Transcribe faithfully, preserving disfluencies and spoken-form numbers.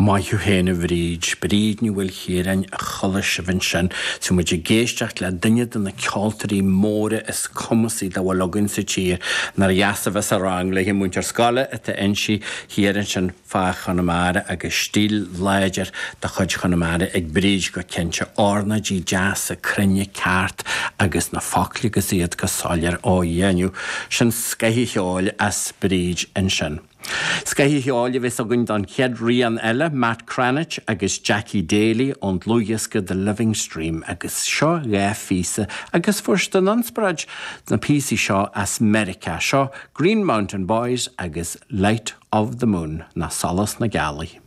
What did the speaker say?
Maith thú féin a Bhríd, Bríd Ní Mhaoilchiaráin a chuala sibh ansin. Tá muid ag éisteacht le duine de na ceoltóirí móra is cumasaí dá bhfuil againn sa tír. Nár dheas a bheith sa rang léi múinteoir scoile atá inti thiar ansin fá Chonamara agus stíl láidir de chuid Chonamara ag Bríd go cinnte ornáidí deasa cruinne ceart agus na focla agus iad go soiléir á dhéanamh. Sin scoth an cheoil as Bríd ansin. Scoth an cheoil a bheas againn don chéad rian eile, Matt Cranitch agus Jackie Daly ón dlúthdhiosca The Living Stream agus seo dhá phíosa agus fuair siad an inspioráid na píosaí seo as Meiriceá seo Green Mountain Boys agus Light of the Moon ná Solas na Gealaí.